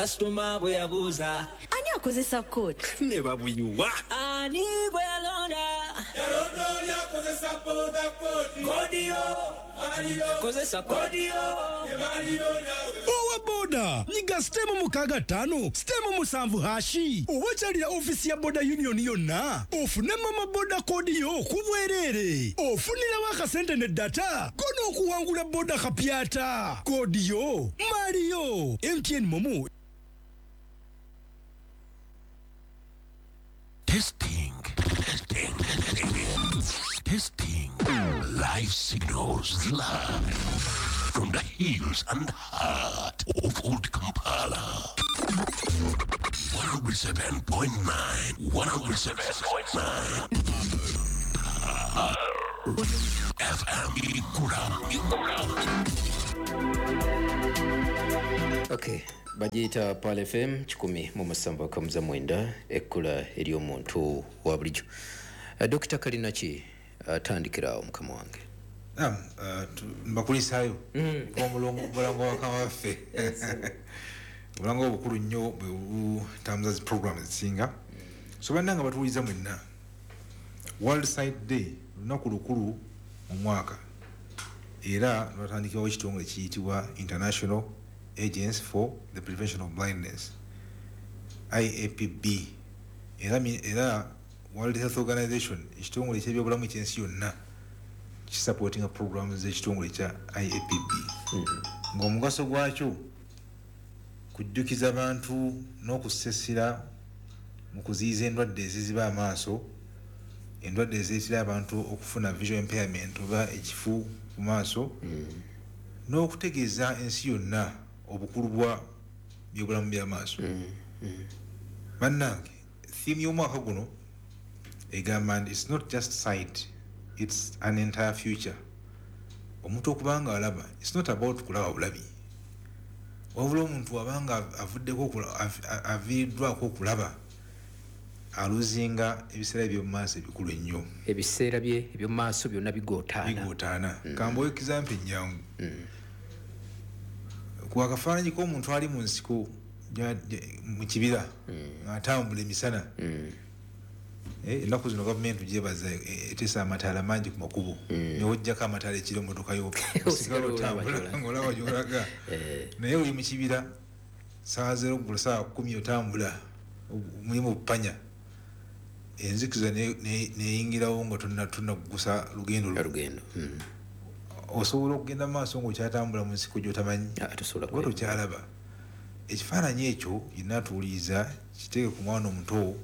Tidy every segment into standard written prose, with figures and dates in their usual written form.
Kasitoma bwe yabuuza Ani akozesa code? Ne babuyuwa, ani bwe yalonda? Yalonda oli akozesa boda kodi. Kodiyo kozesa kodiyo. Owa boda, nyiga *65 *7# oba okyalira ofiisi ya Boda Union yonna ofune mama boda code yo ku bwereere. Ofunirawo akasente ne data ko n'okuwangula boda kapyata. Code yo maaliyo. MTN MoMo. Testing, testing, testing, testing. Live signals live from the hills and heart of Old Kampala. 107.9, 107.9. FM Ikura, Ikura. Okay, bagiyita Pearl FM 107.9, ekkula ery'omuntu wa bulijjo. Dokita Kalinaki, atandikirawo mukama wange. Naam, mbakulisaayo omulango wa waffe, omulango obukulu nnyo bwe butambuza zi program ezisinga. So bannange batuwuliza mwenna, World Sight Day lunaku lukulu mu mwaka, era lwatandikibwawo ekitongole kiyitibwa International Agency for the Prevention of Blindness, IAPB. Era World Health Organization, ekitongole eky'ebyobulamu ekyensi yonna, kisupportinga programs z'ekitongole kya IAPB, ng'omugaso gwakyo kujjukiza abantu n'okusesera mu kuziyiza endwadde eziziba amaaso, endwadde ezireetera abantu okufuna visual impairment oba ekifu ku maaso, n'okutegeeza ensi yonna obukulu bwa byobulamu by'amaaso. Bannange, theme y'omwaka guno egamba nti it's not just sight, it's an entire future. Omuntu okuba nga alaba, it's not about kulaba bulabi, wabula omuntu abanga avuddeko aviiriddwako okulaba, aluzinga ebiseera ebyomumaaso ebikulu ennyo. Ebiseera bye ebyomumaaso byonna bigootaana. Bigootaana. Kambawo example ennyangu. Ku akafaananyi k'omuntu ali mu nsiko mu kibira ng'atambula emisana. Ennaku zino gavumenti gyebaza, eteesa amataala mangi ku makubo, newojjako amataala ekiro emmotoka yo osigala otambula ng'olaba gy'olaga. Naye oli mu kibira saawa 0 ggulo saawa 10, otambula mulimu bupanya, enzikiza neyingirawo nga tonnagusa lugendo lwo. Olugendo. Osobola okugenda mu maaso ng'okyatambula mu nsiko gy'otamanyi? Ah, tosobola. Oba tokyalaba. Ekifaananyi ekyo yenna atuwuliriza kiteeke ku mwana omuto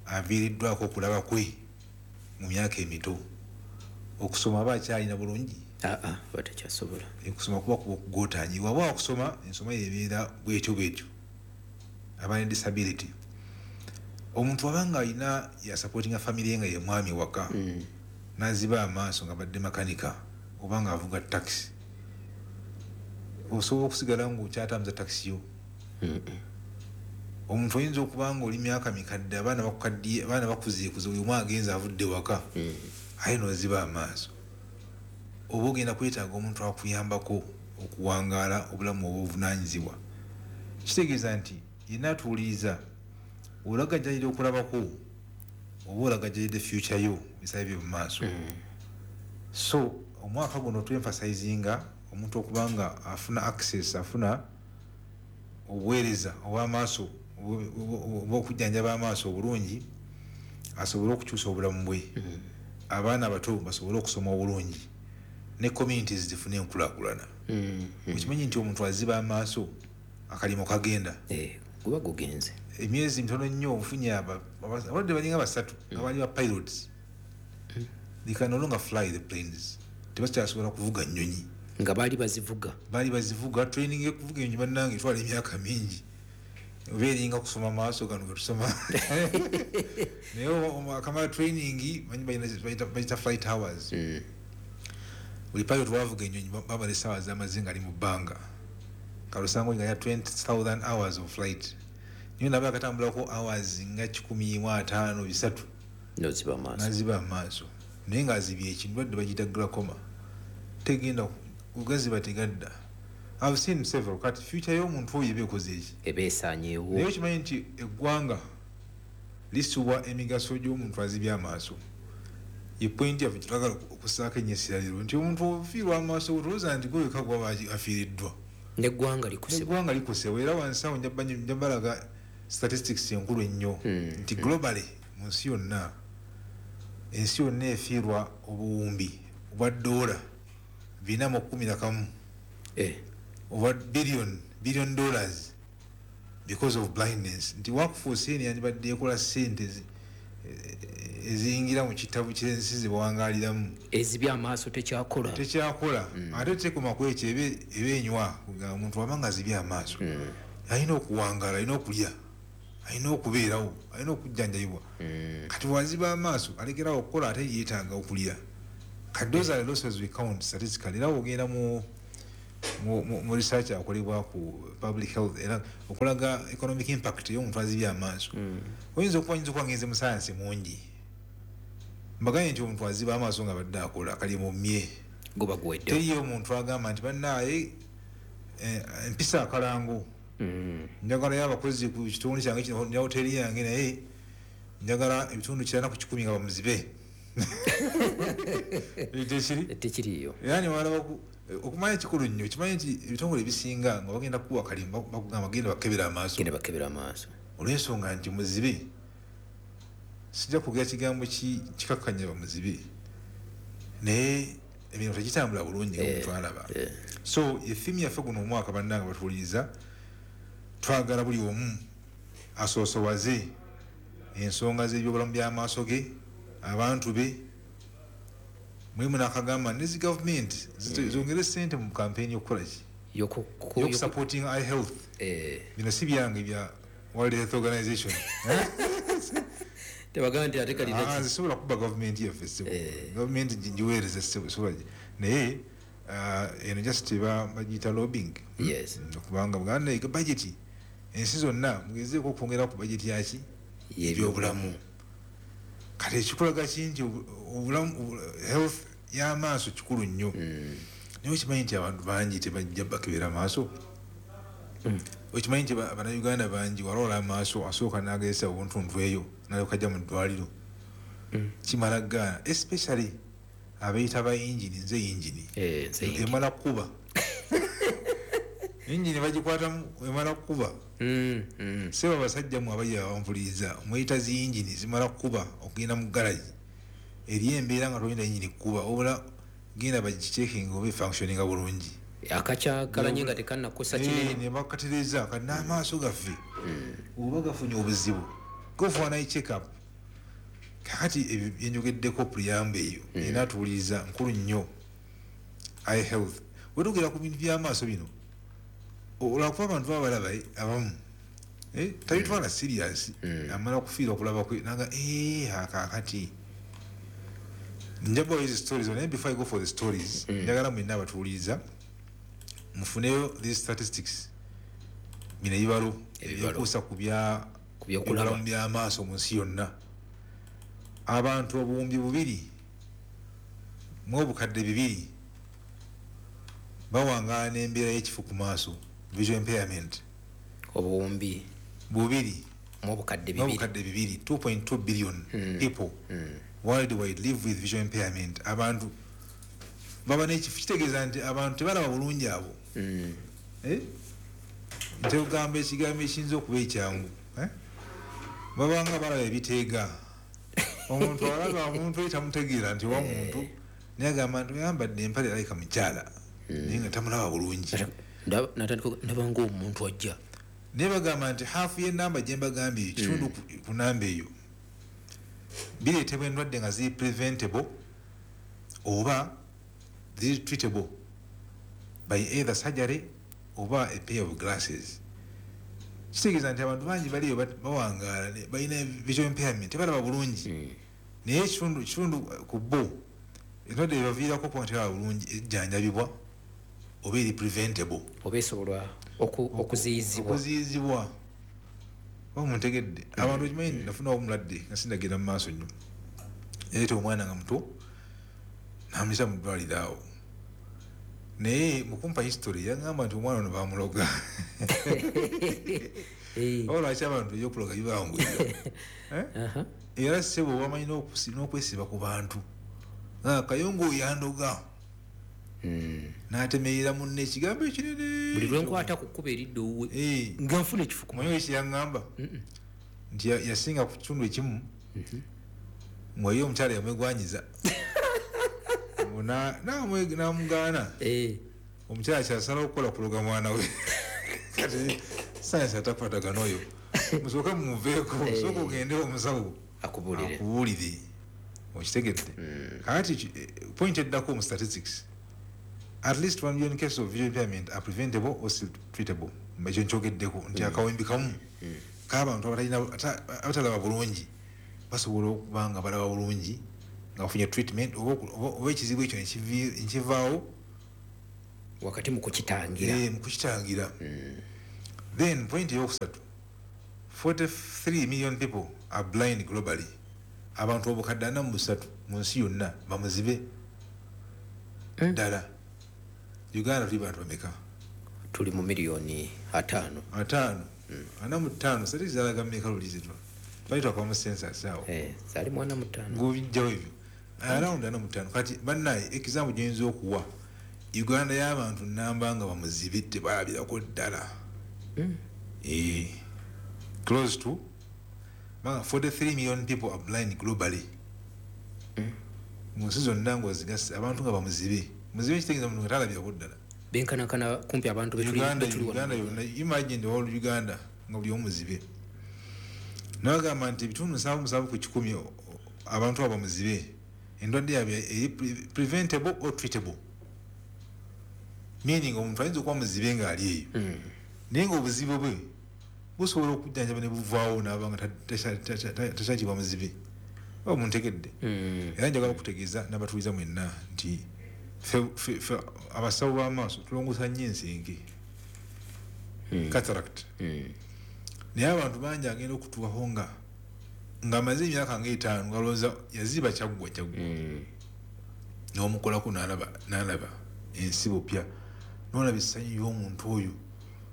aviiriddwako okulaba kwe mu myaka emito. Okusoma aba akyalina bulungi? Aa, aba takyasobola. Okusoma kuba okugootaanyi. Waba wakusoma, ensoma yebeera bwetyo bwetyo, aba ne disability. Omuntu abanga alina yasupportinga family ye nga ye mwami waka, naziba amaaso nga badde makanika oba nga avuga taxi, osobola okusigala nga okyatambuza taxi yo? Omuntu oyinza okuba nga oli myaka mikadde, abaana bakukaddiye, abaana bakuzeekuze, buli omu agenze avudde waka, aye noziba amaaso, oba ogenda kwetaaga omuntu akuyambako okuwangaala obulamu obuvunanyizibwa. Kitegeeza nti yenna atuwuliriza, olagajjalira okulabako oba olagajjalidde future yo, bisabe byo mu maaso. So omwaka guno twemphasizinga omuntu okuba nga afuna access, afuna obuweereza obw'amaaso oba okujjanjaba amaaso obulungi, asobole okukyusa obulamu bwe, abaana abato basobole okusoma obulungi, ne communities zifune enkulaakulana. Okimanyi nti omuntu aziba amaaso akalimu kagenda? Eh, guba gugenze. Emyezi mitono nnyo. Ofunye abalwadde balinga basatu nga bali ba pilots, they can no longer fly the planes, tebakyasobola kuvuga nnyonyi. Nga baali bazivuga? Baali bazivuga. Training ekuvuga ennyonyi, bannange, etwala emyaka mingi, oba eringa kusoma maaso gano getusoma. Naye akamala training, manyi bayita flight hours. Buli pilot wavuga ennyonyi babala essaawa z'amaze nga ali mu bbanga. Kalusango nga ya 20,000 hours of flight, naye naba akatambulako hours nga 153. Noziba amaaso. Naziba amaaso, naye ng'azibye. Ekindwadde bagiyita glaucoma, tegenda kugaziba, tegadda. I've seen several. Kati future y'omuntu oyo eba ekoze eki? Eba esaanyeewo. Naye okimanyi nti eggwanga lisubwa emigaso gy'omuntu azibye amaaso. Ye point yaffe gyetwagala okussaako ennyo essira leero nti omuntu ofiirwa amaaso otulowooza nti gwe wekka gwaba afiiriddwa. N'eggwanga likosebwa. N'eggwanga likosebwa. Era wansi awo nja balaga statistics enkulu ennyo nti globally mu nsi yonna, ensi yonna efiirwa obuwumbi obwa $411 oba billion dollars because of blindness. Nti workforce eno yandibadde ekola ssente eziyingira mu kitabo ky'ensi ze bawangaaliramu. Ezibye amaaso tekyakola. Tekyakola. Ate tekoma ku ekyo, eba enywa. Kugamba omuntu waba nga azibye amaaso, alina okuwangaala, alina okulya, alina okubeerawo, alina okujjanjabibwa. Kati bw'aziba amaaso alekerawo okukola, ate yeetaaga okulya. Kati those are the losses we count statistically. Era ogenda mu research akolebwa ku public health era okulaga economic impact y'omuntu azibye amaaso. Oyinza okuba ngenze mu science mungi, mbagambye nti omuntu aziba amaaso nga badde akola kali mu mmye guba guwedde. Teriyo omuntu agamba nti bannaaye empisa akalango, njagalayo abakozi ku kitundu kyange kino ne hoteri yange, naye njagala ebitundu 90% nga bamuzibe. Tekiri? Tekiriyo. Yani walaba okumanya kikulu nnyo, kimanyi nti ebitongole ebisinga nga bagenda kuwa kalimba bakugamba genda bakebera amaaso. Genda bakebera amaaso. Olw'ensonga nti muzibe, sijja kwogera kigambo kikakkanya bamuzibe, naye emirimu tegitambula bulungi nga omuntu alaba. So effimu yaffe guno omwaka bannange batuwuliriza, twagala buli omu asoosowaze ensonga z'ebyobulamu by'amaaso ge, abantu be. Mulimu n'akagamba nezi gavumenti zongere ssente mu kampeyini y'okukola ki? Y'okusupporting eye health. Bino si byange bya World Health Organization. Tebagamba nti ate kalina ki? Zisobola kuba gavumenti yaffe ssebo. Gavumenti giweereze ssebo, sobola naye eno just bagiyita lobbying. Yes. Kubanga buganda budget ensi zonna mugezeeko okwongera ku budget yaki? Y'ebyobulamu. Kati ekikulaga ki nti obulamu health y'amaaso kikulu nnyo. Naye okimanyi nti abantu bangi tebajja bakebera amaaso. Okimanyi nti Bannayuganda bangi waloola amaaso asooka n'agezesa obuntuntu eyo n'alyoka ajja mu ddwaliro. Kimala ggaana, especially abeeyita ba yingini, nze yingini. Emala kukuba. Yingini bagikwatamu emala kukuba. Ssebo abasajja mmwe abajja abampuliriza, mweyita zi yingini zimala kukuba okugenda mu garagi. Eriyo embeera nga tolina yingini kukuba, wabula genda bagicheckinga oba efunctioninga bulungi. Akakyakalanye nga tekannakusa kinene. Ne bakatereeza kati n'amaaso gaffe oba gafunye obuzibu, go for an eye check up. Kakati ebyo byenjogeddeko preamble eyo era tuwuliriza nkulu nnyo eye health. Wetugera ku bintu by'amaaso bino, olwakuba abantu baba balaba abamu tabitwala serious, amala kufiirwa okulaba kwe naga kaakati njabawo these stories. Naye before I go for the stories, njagala mwenna abatuwuliriza mufuneyo these statistics, bino ebibalo ebyekuusa ku byobulamu by'amaaso mu nsi yonna. Abantu 2,200 bawangaala n'embeera y'ekifu ku maaso, visual impairment. 2,200, 2.2 billion people worldwide live with visual impairment. Abantu baba n'ekifu, kitegeeza nti abantu tebalaba bulungi abo. Nte ogamba ekigambo ekiyinza okuba ekyangu, babanga balaba ebiteega. Omuntu alaba omuntu tamutegeera nti wa muntu, naye agamba nti oyambadde empale alabika mukyala, naye nga tamulaba bulungi. Ndaba ng'omuntu ajja. Naye bagamba nti haafu y'ennamba gye mbagambye eyo, kitundu ku namba eyo, bireetebwa endwadde nga ziri preventable oba ziri treatable by either surgery oba a pair of glasses. Kitegeeza nti abantu bangi baliyo bawangaala balina visual impairment, tebalaba bulungi. Naye ekitundu ku bo endwadde ebaviirako okuba nga tebalaba bulungi ejjanjabibwa oba eri preventable, oba esobolwa okuziyizibwa. Oba muntegedde? Abantu okimanyi nafuna omulwadde nga sindagenda mu maaso nnyo, yaleeta omwana nga muto n'amuyisa mu ddwaliro awo, Naye mukumpa history yangamba nti omwana ono bamuloga. Olwaki abantu ebyokuloga bibanguyira? Era ssebo wamanyi n'okwesiba ku bantu. Kayongo yandoga. N'atemerera munne ekigambo ekinene. Buli lwe nkwata ku kkubo eridda owuwe nga nfuna ekifuku. Omanyi ekyo yaŋŋamba nti yasinga ku kitundu ekimu ng'oyo omukyala yamwegwanyiza. N'amugaana. Omukyala kyasalawo okukola kuloga mwana we. Kati sayansi atakwatagana oyo. Musooke mumuveeko, sooka ogende omusawo akubuulire. Okitegedde? Kakati point eddako mu statistics, at least 1 million cases of visual impairment are preventable or still treatable. Ekyo nkyogeddeko nti akawembi kamu k'abantu abatalaba bulungi basobola okuba nga balaba bulungi nga bafunye treatment oba ekizibu ekyo nekivaawo wakati mu kukitangira. Mu kukitangira. Then point eyokusatu, 43 million people are blind globally. Abantu obukadde 43 mu nsi yonna bamuzibe ddala. Uganda tuli bantu bameka? Tuli mu miliyoni 5. 5. 45. Statistics zalaga mmeka lulizitwa? Twali twakava mu census awo. Zaali mu 45. Ng'obijjawo ebyo. Around 45. Kati bannaye example gy'oyinza okuwa, Uganda y'abantu nnamba nga bamuzibe tebalabirako ddala. Close to 43 million people are blind globally. Mu nsi zonna ng'ozigasa abantu nga bamuzibe. Muzibe kitegeeza omuntu nga talabirako ddala. Benkanankana kumpi abantu betuli Uganda yonna. Imagine the whole Uganda nga buli omu muzibe. Nabagamba nti ebitundu 77 ku 100 abantu abo bamuzibe. Endwadde yaabwe eri preventable or treatable. Meaning omuntu ayinza okuba muzibe ng'ali eyo. Naye ng'obuzibu bwe busobola okujjanjaba ne buvaawo n'aba nga takyakibwa muzibe. Oba muntegedde. Era njagala okutegeeza n'abatuuliza mwenna nti ffe abasawo b'amaaso tulongoosa nnyo ensenke. Cataract. Naye abantu bangi agenda okutuukako ng'amaze emyaka nga 5 ng'alowooza yaziba kyaggwa. N'omukolako n'alaba ensi bupya. N'olaba essanyu y'omuntu oyo.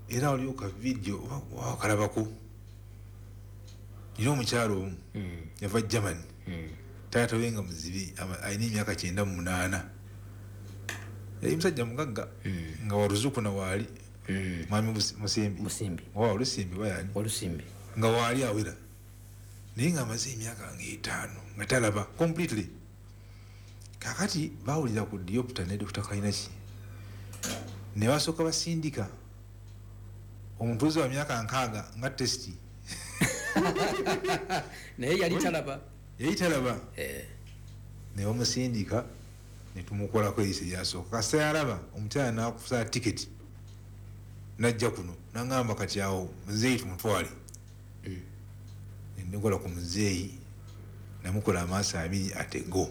Era waliwo ka vidiyo oba wakalabako. Nina omukyalo omu yava Germany. Taata we nga muzibe alina emyaka 98. Yali musajja mugagga nga waluzuku na waali. Mwami Musimbi. Oba Walusimbi oba yani? Walusimbi. Nga waali awera. Naye ng'amaze emyaka nga 5 nga talaba completely. Kaakati baawulira ku Diopter ne Dr. Kainaki. Ne basooka basindika omutuuze wa myaka 60 nga testi. Naye yali talaba. Yali talaba. Ne bamusindika ne tumukolako eriiso eryasooka. Kasita yalaba omukyala n'akusala tiketi n'ajja kuno n'angamba kati awo muzeeyi tumutwale. Ne nkola ku muzeeyi namukola amaaso 2 ate go.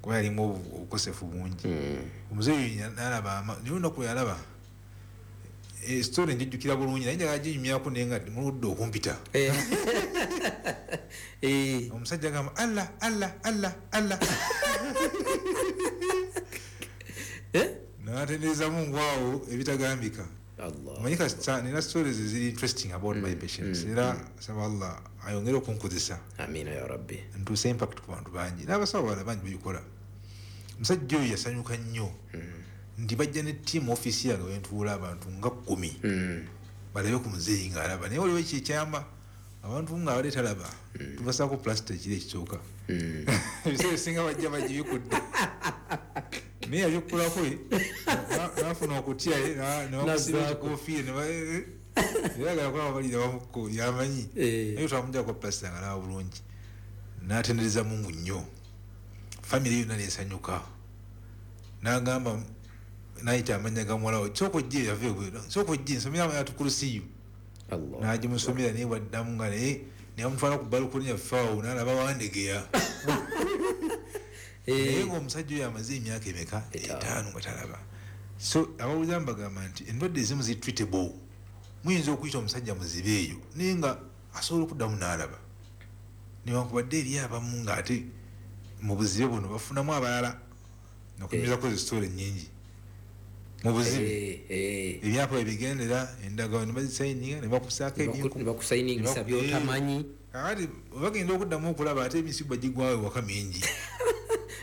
Kuba yalimu obukosefu bungi. Omuzeeyi n'alaba naye olunaku lwe yalaba story njijjukira bulungi naye njagala ginyumyako naye nga muludde okumpita. Omusajja agamba Allah Allah Allah Allah. N'atendereza Mungu awo ebitagambika. Omanyi kasita nina stories eziri interesting about my patients. Era saba Allah ayongere okunkozesa. Amina ya Rabbi. Ntuuse impact ku bantu bangi. N'abasawo abalala bangi babikola. Omusajja oyo yasanyuka nnyo. Nti bajja ne team office yange wentuula abantu nga 10. Balabe ku muzeeyi ng'alaba. Naye waliwo ekyama abantu nga abadde talaba. Tubasaako plastic ekiro ekisooka. Ebiseera ebisinga bajja bagibikudde. Naye yabikkulako n'afuna okutya ne bamusiba ekikoofiira yagala kulaba balira bamukko yamanyi. Naye twamuggyako plastic ng'alaba bulungi. N'atendereza Mungu nnyo. Family yonna n'esanyuka. N'agamba n'ayita amannya ga muwala we, sooka ojje yava ebweru, sooka ojje nsomera amanya tukurusiyu. N'agimusomera naye bw'addamu nga naye ne bamutwala ku balukoni yaffe awo n'alaba Wandegeya. Naye ng'omusajja oyo amaze emyaka emeka? 5 nga talaba. So abawuliza mbagamba nti endwadde ezimu ziri treatable. Muyinza okuyita omusajja muzibe eyo naye nga asobola okuddamu n'alaba. Newankubadde eri abamu ng'ate mu buzibe buno bafunamu abalala. Nakunyumizaako zi story nnyingi. Mu buzibe ebyapa ebigendera endagaano ne bazisayininga ne bakusaako ebintu ne bakusayiningisa by'otamanyi. Kakati bagenda okuddamu okulaba ate emisiba gigwawo ewaka mingi.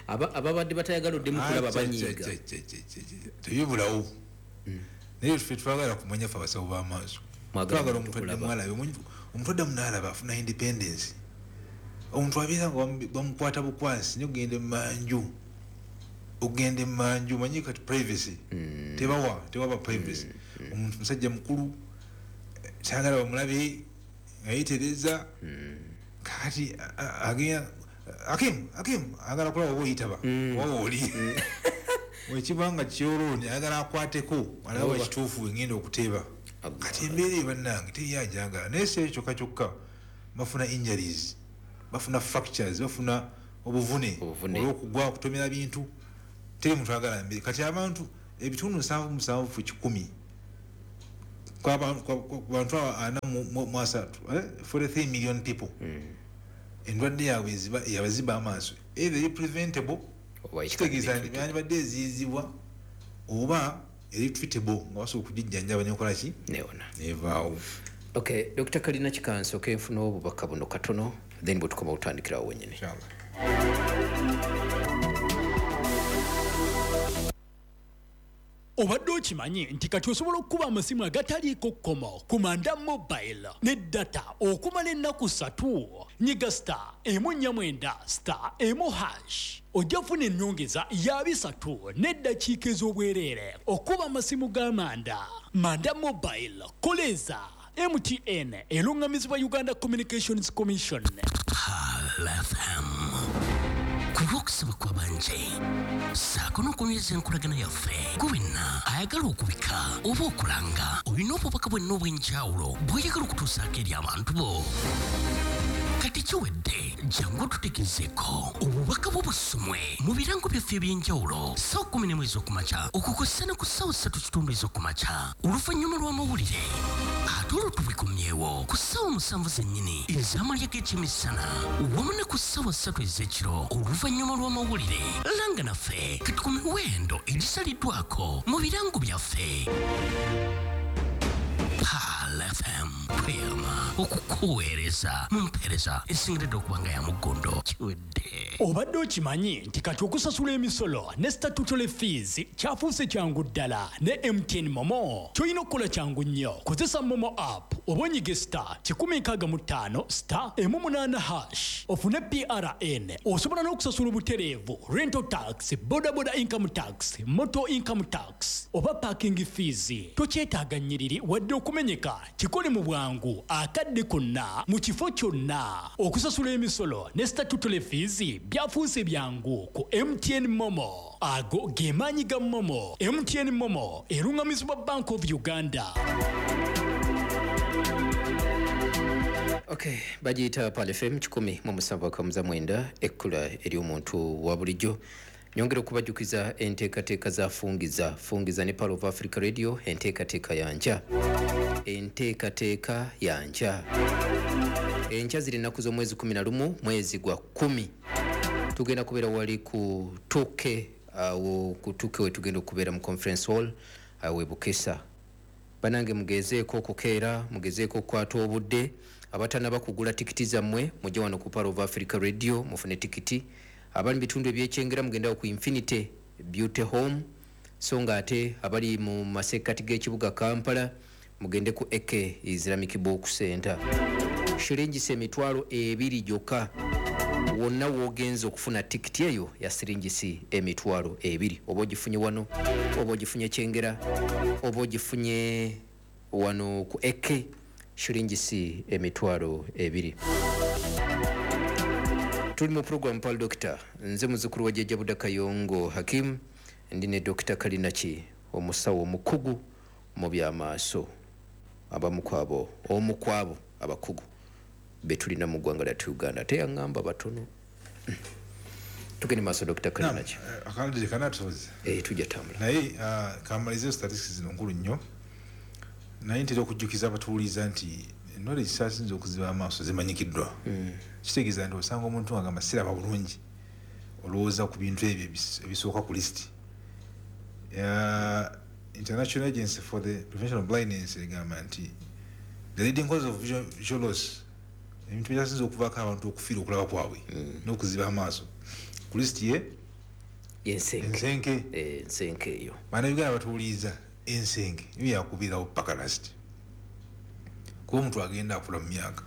Ababadde batayagala oddemu kulaba banyiiga. Tebibulawo. Naye ffe twagala kumanya ffe abasawo b'amaaso. Twagala omuntu addemu alabe. Omuntu addamu n'alaba afuna independence. Omuntu abeera nga bamukwata bukwasi naye ogenda emmanju. Ogenda emmanju omanyi kati privacy. Tewaba privacy. Omuntu musajja mukulu kyagala bamulabe nga yeetereza. Kakati agenda Akim agala kulaba oba oyitaba oba oli. Bwekiba nga kyolooni ayagala akwateko alaba ekituufu engenda okuteeba. Kati embeera eyo bannange teri ajagala. Naye si ekyo kyokka kyokka, bafuna injuries, bafuna fractures, bafuna obuvune olw'okugwa okutomera bintu. Teri muntu ayagala mbeera. Kati abantu ebitundu 77 ku 100 ku bantu 43, 43 million people. Endwadde yaabwe yabaziba amaaso either eri preventable, kitegeeza nti byandibadde eziyizibwa, oba eri treatable nga basobola okugijjanjaba nekola ki nevaawo. Okay, Dr. Kalina Kikanso, kenfuna obubaka buno katono then bwe tukoma otandikirawo wennyini. Inshallah. Obadde okimanyi nti kati osobola okukuba amasimu agataliiko kkomo ku Manda Mobile ne data okumala ennaku 3? Nyiga star 149 star 1 hash ojja kufuna ennyongeza ya 3 n'eddakiika ez'obwereere okuba amasimu ga Manda. Manda Mobile, koleza MTN eruŋŋamizibwa Uganda Communications Commission. FM ku lw'okusaba kw'abanje ssaako n'okunyweza enkolagana yaffe. Gwe wenna ayagala okubika oba okulanga, olina obubaka bwenna obw'enjawulo bw'oyagala okutuusaako eri abantu bo. Kati kiwedde, jangu otutegezeeko obubaka bwo busomwe mu birango byaffe eby'enjawulo ssaawa 11 ez'okumakya okukosa ne ku ssaawa 3:15 ez'okumakya oluvannyuma lw'amawulire, ate olwo tubikomyewo ku ssaawa 7 zennyini ez'amalya g'ekyemisana wamu ne ku ssaawa 3 ez'ekiro oluvannyuma lw'amawulire. Langa naffe kati ku miwendo egisaliddwako mu birango byaffe. Pearl FM tweyama okukuweereza mu mpeereza esingiridde okuba nga ya muggondo. Kiwedde. Obadde okimanyi nti kati okusasula emisolo ne statutory fees kyafuuse kyangu ddala ne MTN Momo? Ky'olina okukola kyangu nnyo. Kozesa Momo app oba onyige star 165 star 18 hash ofune PRN. Osobola n'okusasula obutereevu rental tax, boda boda income tax, motor income tax oba parking fees. Tokyetaaga nnyiriri wadde okumenyeka. Kikole mu bwangu akadde konna mu kifo kyonna. Okusasula emisolo ne statutory fees byafuuse byangu ku MTN Momo. Ago ge maanyi ga Momo. MTN Momo eruŋŋamizibwa Bank of Uganda. Okay, bagiyita Pearl FM 107.9, ekkula eri omuntu wa bulijjo. Nyongera okubajjukiza enteekateeka za Fungiza. Fungiza ne Pearl of Africa Radio, enteekateeka yanja. Enteekateeka yanja. Enkya ziri ennaku z'omwezi 11 mwezi gwa 10. Tugenda kubeera wali ku Tuke, awo ku Tuke we tugenda okubeera mu conference hall awo e Bukesa. Banange mugezeeko okukeera, mugezeeko okukwata obudde. Abatannaba kugula tikiti zammwe mujje wano ku Pearl of Africa Radio mufune tikiti. Abali mu bitundu eby'ekyengera mugendawo ku Infinity Beauty Home, so nga ate abali mu masekkati g'ekibuga Kampala mugende ku AK Islamic Book Center. Shiringisi 20,000 gyokka. Wonna w'ogenza okufuna tikiti eyo ya siringisi 20,000. Oba ogifunye wano, oba ogifunye Kyengera, oba ogifunye wano ku AK, shiringisi 20,000. Tuli mu program Pearl Doctor. Nze muzzukulu wa Jjajja Buda Kayongo Hakim, ndi ne Dr. Kalinaki, omusawo omukugu mu by'amaaso. Abamu ku abo, omu ku abo abakugu be tulina mu ggwanga lyattu Uganda. Ate yaŋŋamba batono. Tugende maaso Dr. Kalinaki. Akalidde kanatusoboza. Tujja tambula. Naye kamalizeyo statistics zino nkulu nnyo. Naye ntera okujjukiza abatuwuliriza nti endwadde ezisinze okuziba amaaso zimanyikiddwa. Kitegeeza nti osanga omuntu ng'agamba siraba bulungi, olowooza ku bintu ebyo ebisooka ku lisiti. International Agency for the Prevention of Blindness egamba nti the leading cause of visual loss, ebintu byasinze okuvaako abantu okufiira okulaba kwabwe n'okuziba amaaso, ku lisiti ye ensenke. Ensenke eyo Bannayuganda batuwuliriza, ensenke yo yakubeerawo paka last, kuba omuntu agenda akula mu myaka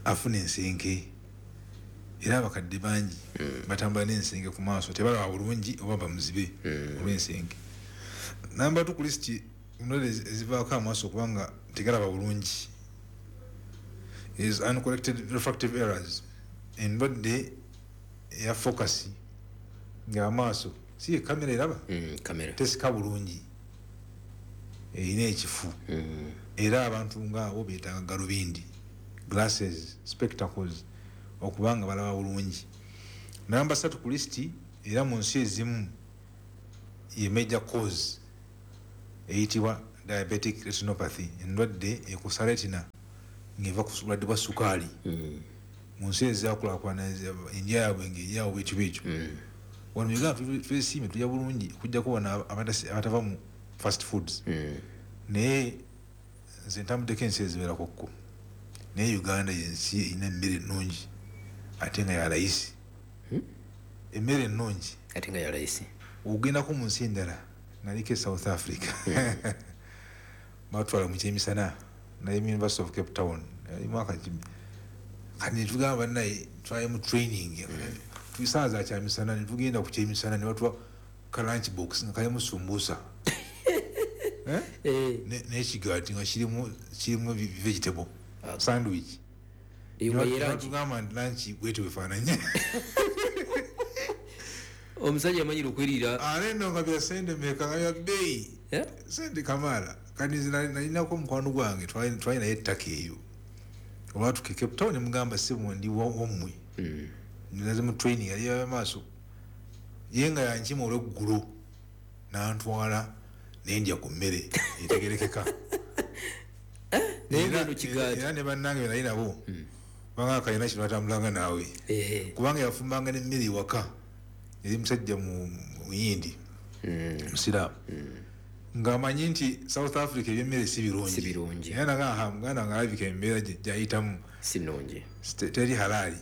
afuna ensenke, era abakadde bangi batambula n'ensenke ku maaso, tebalaba bulungi oba bamuzibe olw'ensenke. Namba 2 ku lisiti endwadde ezivaako amaaso okubanga tegalaba bulungi is uncorrected refractive errors, endwadde eya focus ng'amaaso si ye kamera eraba, tesika bulungi, erina ekifu, era abantu ngaabo beetaaga galubindi, glasses, spectacles, okubanga balaba bulungi. Namba 3 ku lisiti, era mu nsi ezimu ye major cause, eyitibwa diabetic retinopathy, endwadde ekosa retina ng'eva ku bulwadde bwa sukaali. Mu nsi ezakulakulana endya yaabwe ng'eryawo bwekyo bwekyo. Wano mu Uganda twesiimye tulya bulungi okuggyako wano abatava mu fast foods, naye nze ntambuddeko ensi eziwerako kko, naye Uganda yensi erina emmere ennungi ate nga ya layisi. Emmere ennungi ate nga ya layisi. Ogendako mu nsi endala, naliko e South Africa, batwala mu kyemisana, naye mu University of Cape Town mwaka kati netugamba bannaye twali mu training, tusaawa za kyamisana netugenda ku kyemisana ne batuwa ka lunch box nga kalimu sumbusa n'ekigaati nga kirimu vegetable sandwich. Tugamba nti lunch bwetyo bwefaananye. Omusajja amanyire okweriira ate nno nga bya sente mmeka, nga bya bbeeyi, sente kamala. Kati nze nalinako omukwano gwange twali naye ettaka eyo, olwatuka e Cape Town mugamba ssebo ndi wammwe, naze mu training yali y'amaaso, ye nga yankima olweggulo n'antwala nendya ku mmere etegerekeka. Era ne bannange be nali nabo banga kalina kino atambulanga naawe, kubanga yafumbanga n'emmere ewaka, yali musajja muyindi musiraamu, ng'amanyi nti South Africa ebyemmere si birungi, era naga muganda nga alabika embeera gyayitamu si nnungi, teri halaali,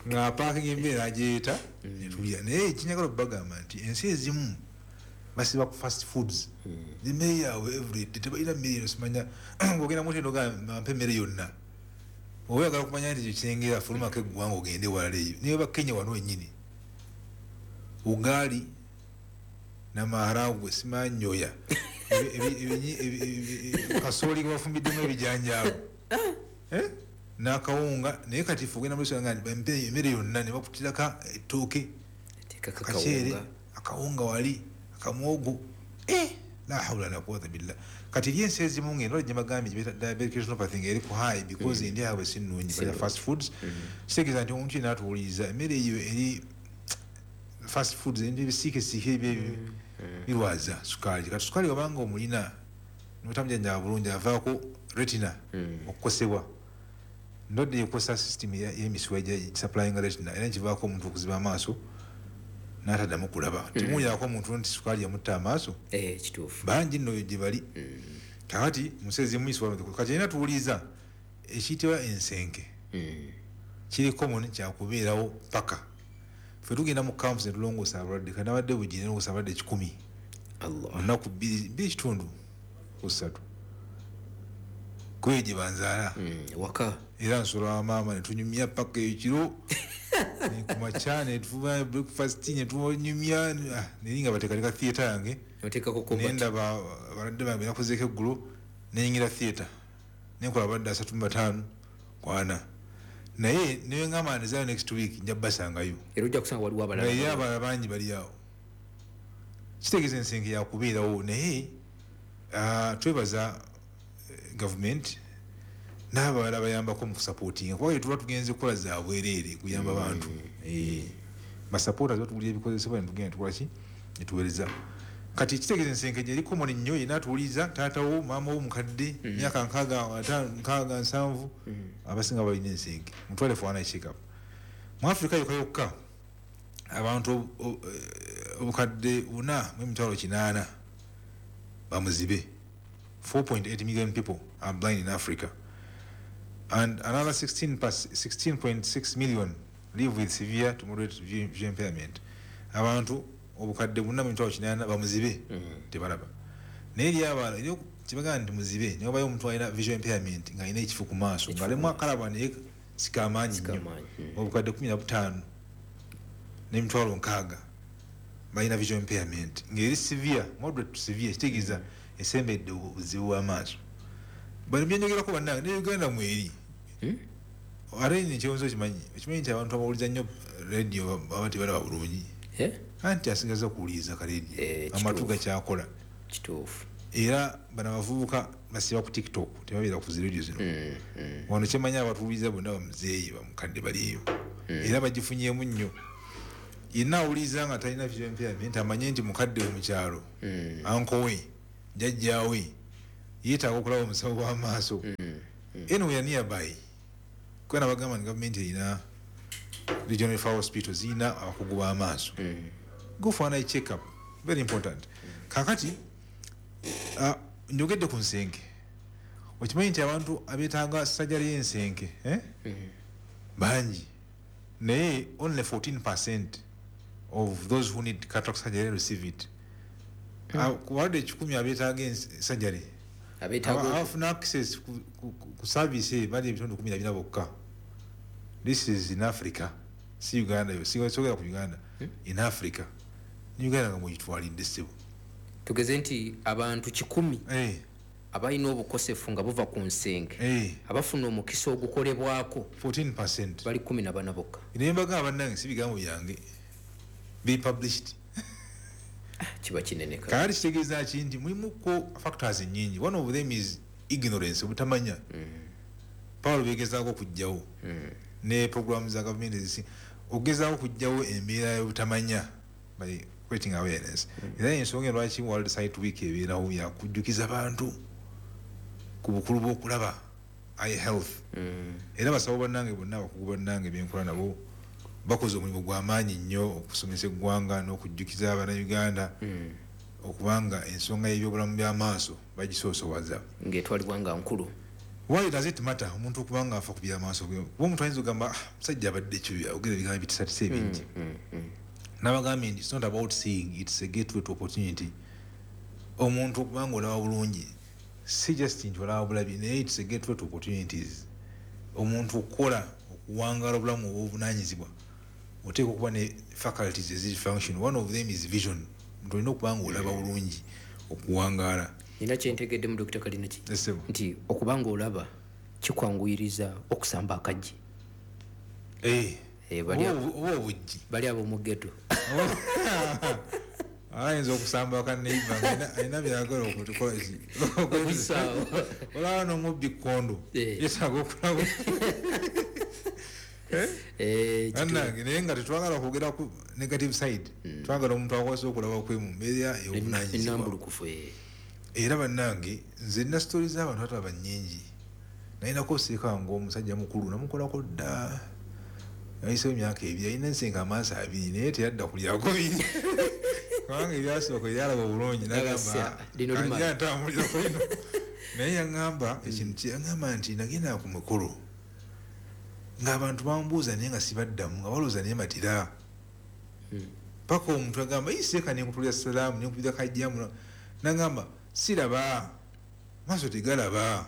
ng'apaakinga emmere agyeyeta netulya. Naye ekinyagala okubagamba nti ensi ezimu basiba ku fast foods, emmere yaabwe everyday tebalina mmere eno, simanya ng'ogenda mu hoteri ogamba mpa emmere yonna, oba oyagala okumanya nti kyengera fulumako eggwanga ogende walala eyo. Naye oba Kenya wano wennyini ugali na maharagwe simanyoya kasooli ge bafumbiddemu ebijanjaalo n'akawunga, naye kati ffe ogenda mu restaurant nga mpe emmere yonna ne bakutirako ettooke, kaceere, akawunga wali, akamuwogo, la hawla la quwwata billah. Kati eri ensi ezimu ng'endwadde gye bagambye gye bayita diabetic retinopathy ng'eri ku high because endya yaabwe si nnungi, balya fast foods. Kitegeeza nti omuntu yenna atuwuliriza emmere eyo eri fast foods, ebintu ebisiikesiike ebyo birwaza sukaali. Kati sukaali wabanga omulina notamujjanjaba bulungi avaako retina okukosebwa, ndwadde ekosa system y'emisuwa supplying retina, era nkivaako omuntu okuziba amaaso n'ataddamu kulaba. Temuwulyako omuntu nti sukaali yamutta amaaso, kituufu, bangi nno gye bali. Kakati mu nsi ezimu kati erina tuwuliriza ekiyitibwa ensenke kiri common, kyakubeerawo paka ffe tugenda mu camps ne tulongoosa abalwadde. Kati nabadde bugiri nelongoosa abalwadde 100 olunaku 2.5 ku 3 kuyo gye banzaala waka, era nsula wa maama ne tunyumya paka ekiro kumakya ne tufuba breakfast ne tunyumya, naye nga bateekateeka theatre yange nendaba abalwadde bange benakozeeko eggulo, neyingira theatre nenkola abalwadde 35 ku 40, naye newengamba nzaayo next week nja basangayo, era ojja kusanga waliwo abalala, naye abalala bangi bali awo. Kitegeeza ensenke yakubeerawo, naye twebaza gavumenti n'abalala bayambako mu kusapootinga, kuba tuba tugenze kukola za bwereere kuyamba bantu. Basapoota batugulira ebikozesebwa netugenda tukola ki netuweereza. Kati kitegeeza ensenke eri common nnyo, yenna atuwuliriza, taatawo, maama wo mukadde, myaka 65 60 70, abasinga balina ensenke, mutwale for one check up. Mu Africa yokka yokka abantu obukadde 4 mu 800,000 Bamuzibe. 4.8 million people are blind in Africa, and another 16.6 million live with severe to moderate vision impairment. Abantu obukadde 4.8 bamuzibe tebalaba. Naye eri abalala eri kibagamba nti muzibe naye obayo omuntu alina visual impairment ng'alina ekifu ku maaso ng'alemu akalaba naye sikamaanyi nnyo. Obukadde 15 n'emitwalo 60 balina visual impairment ng'eri severe, moderate to severe, kitegeeza esembedde obuzibu bw'amaaso. Bano byenjogerako bannange ne Uganda mweri. Ate nno ekyewuunyo okimanyi nti abantu abawuliza nnyo radio baba tebalaba bulungi. Anti asigaza okuwuliriza ka radio, amatu gakyakola. Kituufu. Era bano abavubuka basiba ku TikTok, tebabeera ku zi radio zino. Wano kyemanyi abatuwuliriza bonna bamuzeeyi bamukadde baliyo. Era bagifunyeemu nnyo. Yenna awuliriza nga talina visual impairment amanye nti mukadde we mu kyalo, uncle we, jjajjaawe, yeetaaga okulaba omusawo w'amaaso. Anywhere nearby, kuba nabagamba nti gavumenti erina regional referral hospital zirina abakugu b'amaaso. Go for an eye check up, very important. Kaakati njogedde ku nsenke. Okimanyi nti abantu abeetaaga sajjali y'ensenke bangi, naye only 14% of those who need cataract surgery receive it. Ku balwadde 100 abeetaaga surgery, abafuna access ku service eyo bali ebitundu 14 bokka. This is in Africa, si Uganda yo, sogera ku Uganda, in Africa. Ne Uganda nga mwegitwalidde ssebo. Tugeze nti abantu 100 abalina obukosefu nga buva ku nsenke abafuna omukisa ogukolebwako 14% bali 14 bokka. Naye mbagamba bannange si bigambo byange, be published. Kiba kinene. Kaali kitegeeza ki nti mulimuko factors nnyingi. One of them is ignorance, obutamanya. Pawulo begezaako okuggyawo ne programu za gavumenti ezisi okugezaako okuggyawo embeera y'obutamanya by creating awareness. Era ensonga lwaki World Sight Week ebeerawo yakujjukiza bantu ku bukulu bw'okulaba eye health. Era basawo bannange bonna, abakugu bannange benkola nabo bakoze omulimu gw'amaanyi nnyo okusomesa eggwanga n'okujjukiza Abannayuganda okubanga ensonga y'ebyobulamu by'amaaso bagisoosowaza. Ng'etwalibwa nga nkulu. Why does it matter omuntu okubanga afa ku by'amaaso? Kuba omuntu ayinza okugamba musajja abadde kibi, ayogera ebigambo ebitisatisa ebingi. Nabagambye nti it's not about seeing, it's a gateway to opportunity. Omuntu okubanga olaba bulungi si just nti olaba bulabi, naye it's a gateway to opportunities. Omuntu okukola okuwangaala obulamu obw'obuvunaanyizibwa oteekwa okuba ne faculties eziri function. One of them is vision. Omuntu olina okuba nga olaba bulungi okuwangaala. Nina kyentegeddemu Dr. Kalinaki nti okuba nga olaba kikwanguyiriza okusamba akaggi. Oba obuggi. Bali ab'omu ghetto. Ayinza okusamba akaneiba alina byagala okukola ki? Olaba n'omubbi kkondo yeetaaga okulaba. Bannange naye nga tetwagala okwogera ku negative side, twagala omuntu akwasa okulaba kwe mu mbeera ey'obuvunaanyizibwa. Era bannange nze nina sitori z'abantu atalaba nnyingi. Nalinako seeka ng'omusajja mukulu namukolako dda, nayiseewo emyaka 2, alina ensenke amaaso 2 naye teyadda kulyako biri kubanga ebyasooka ebyalaba obulungi n'agamba anja ntambulirako lino. Naye yaŋŋamba ekintu kye yaŋŋamba nti nagenda ku mukolo ng'abantu bambuuza naye nga sibaddamu, nga balowooza naye matira. Paka omuntu agamba seeka nenkutulira salaamu nenkubira kajjamu, n'agamba siraba, maaso tegalaba.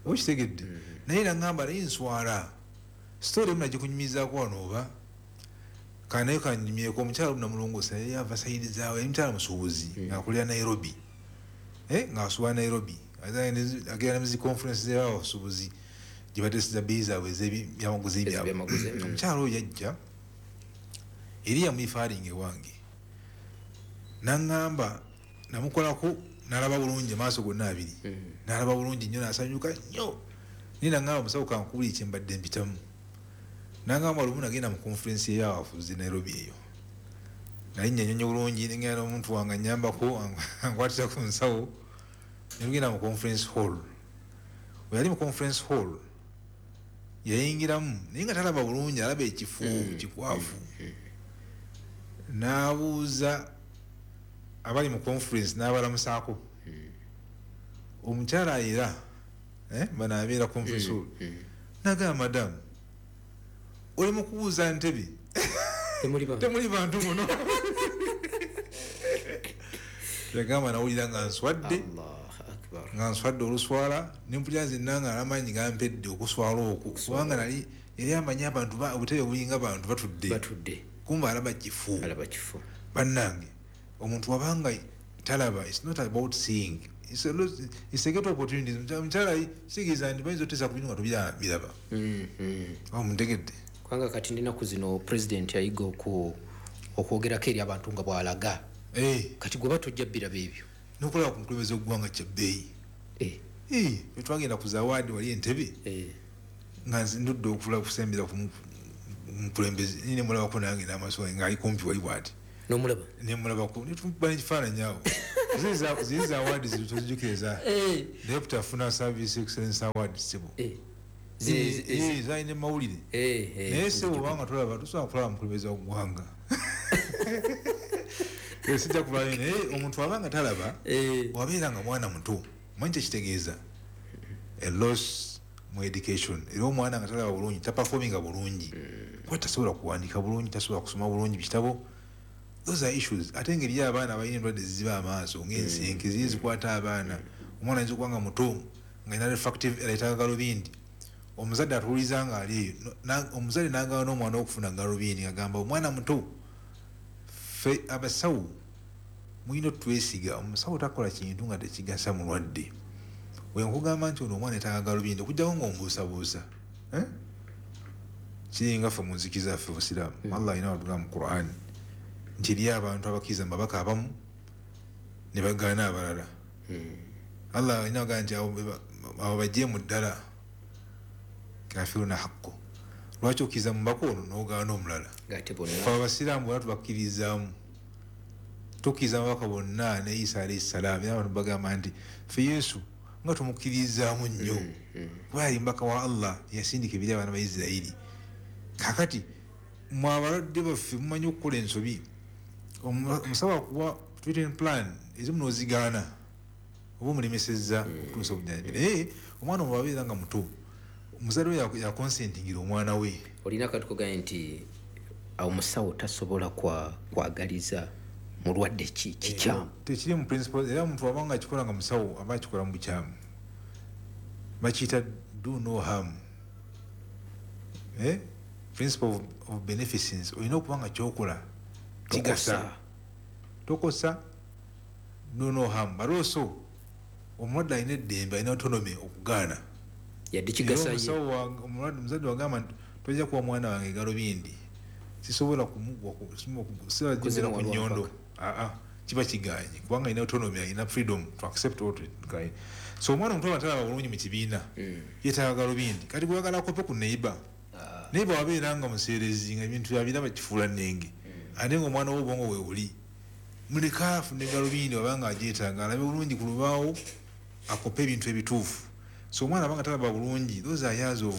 Okitegedde? Naye n'agamba naye nswala. Sitori emu nagikunyumizaako wano oba kanaye kanyumyeko. Omukyala omu namulongoosa yali ava sayidi zaawe, yali mukyala musuubuzi ng'akolera Nairobi, ng'asuubula Nairobi, agenda ne mu zi conference z'abasuubuzi gye bateeseza bbeeyi zaabwe ez'ebyamaguzi byabwe. Omukyala oyo yajja eri yamwifaaringa ewange n'aŋŋamba, namukolako n'alaba bulungi amaaso gonna 2, n'alaba bulungi nnyo n'asanyuka nnyo. Naye n'aŋŋamba musawo kankubuulire kye mbadde mpitamu. N'aŋŋamba lumu nagenda mu conference ey'abafuzi Nairobi eyo, nalinnya ennyonyi bulungi nengenda n'omuntu wange annyambako ankwatira ku nsawo, ne tugenda mu conference hall. Bwe yali mu conference hall yayingiramu naye nga talaba bulungi, alaba ekifu kikwafu. N'abuuza abali mu conference n'abalamusaako, Omukyala era bano abeera conference hall, nagamba, "Madamu, oli mu kubuuza ntebe, Temuli bantu. Temuli bantu muno." Yagamba, "Nawulira nga nswadde, Allah akbar. nga nswadde oluswala, nempulira nzenna nga amaanyi gampedde okuswala okwo, kubanga nali yali amanyi abantu obutebe bulinga bantu batudde, Batudde. Kumba alaba kifu." Alaba kifo. Bannange, omuntu wabanga talaba, it's not about seeing. It's a great opportunity. Omukyala kitegeeza nti bayinza oteesa ku bintu nga tobiraba. Oba muntegedde? Kubanga kati ndinaku zino president yayiga okwogerako eri abantu nga bw'alaga. Kati gwe batojja biraba ebyo. Nokulaba ku mukulembeze w'eggwanga kyabbeeyi. Twagenda ku zawaadi wali Entebe, nga nze ndudde okula okusembera ku mukulembeze, nemulabako nange n'amaaso gange ng'ali kumpi wali bwati. Nomulaba? Nemulabako, netukuba n'ekifaananyi awo. Ziri za awards tozijjukira eza deputy afuna service excellence award, sebo. Zalina mawulire. Naye sebo, obanga tolaba, tosobola kulaba mukulembeze wa ggwanga. Sijja kulwayo, naye omuntu abanga talaba, wabeera nga mwana muto, manyi kyekitegeeza a loss mu education. Era omwana nga talaba bulungi taperforminga bulungi, kuba tasobola kuwandika bulungi, tasobola kusoma bulungi bitabo. Those are issues. Ate engeri y'abaana balina endwadde ziziba amaaso ng'ensenke, ziri zikwata abaana. Omwana ayinza okuba nga muto nga alina refractive error, etaaga galubindi. Omuzadde atuwuliza nga ali eyo, omuzadde n'agaana n'omwana okufuna galubindi, ng'agamba omwana muto. Ffe abasawo mulina otwesiga. Omusawo takola kintu nga tekigasa mulwadde. Wenkugamba nti ono omwana etaaga galubindi, okujjako ng'ombuusabuusa, eh? Kiringa ffe mu nzikiriza yaffe obusiraamu, Allah alina watugamba mu Quran nti eriyo abantu abakkiriza mu babaka abamu ne bagaana abalala. Allah alina agamba nti abo bajjeemu ddala, kafiruna haqqo. Lwaki okkiriza mu mubaka ono n'ogaana omulala? Ng'ate bonna Ffe abasiraamu bonna tubakkirizaamu, tukkiriza amabaka bonna ne Isa alaihi salaamu. Era abantu bagamba nti ffe Yesu nga tumukkirizaamu nnyo, kuba yali mubaka wa Allah yasindika ebiri abaana ba Isirayiri. Kakati mwe abalwadde baffe mumanyi okukola ensobi. Omusawo akuwa treatment plan, ezimu n'ozigaana, oba omulemesezza okutuusa obujjanjabi. Naye omwana omwo abeera nga muto, omuzadde we yaconsentingira omwana we. Olina akantu kogaye nti omusawo tasobola kwagaliza mulwadde ki kikyamu. Tekiri mu principle. Era omuntu wabanga akikola nga musawo, aba akikola mu bukyamu. Bakiyita do no harm, eh? Principle of beneficence. Olina okuba nga kyokola kigasa, tokosa, do no harm, but also omulwadde alina eddembe, alina autonomy okugaana. Yadde Era kigasa ye. Omusawo omulwadde, omuzadde wagamba nti tojja kuwa mwana wange galubindi, sisobola kumuwa ku Kuzimuwa nnyondo. lwampaka. Aa, kiba kiganye, kubanga alina autonomy, alina freedom to accept or to decline. So omwana omuto atalaba bulungi mu kibiina, yeetaaga galubindi. Kati gweyagala akope ku neighbor, neighbor wabeera nga museerezi, nga ebintu byabiraba kifuula nnenge, ate nga omwana w'obwongo we buli, muleka afune galubindi wabanga agyetaaga, alabe bulungi ku lubaawo, akope ebintu ebituufu. So omwana abanga talaba bulungi, those are years of,